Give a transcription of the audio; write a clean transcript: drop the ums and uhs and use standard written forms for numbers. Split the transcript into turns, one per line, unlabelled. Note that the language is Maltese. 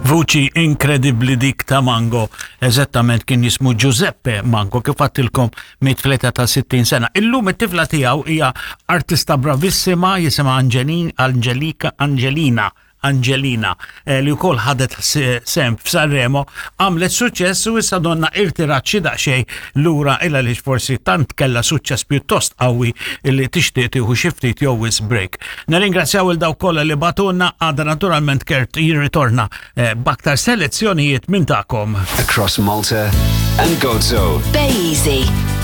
Vuċi inkredibbli dik ta' Mango, eżattament kien jismu Giuseppe Mango, kif għattilkom miet fl-età ta' 60 sena. Illum it-tifla tiegħu hija artista bravissima jisimha Angelin, Angelika, Angelina, Angelina, eh, li wkoll ħadet sem f'Sanremo, għamlet suċċess u issa donna irtirat xi daqsxejn lura illa li forsi tant kellha suċċess pjuttost qawwi li tixtieq tieħu xi ftit jew wisq break. Nirringrazzjaw il dawk kollha li batunna għada naturalment Kurt jirritorna eh, b'aktar selezzjonijiet minn tagħkom.
Across Malta and Gozo.
Be easy.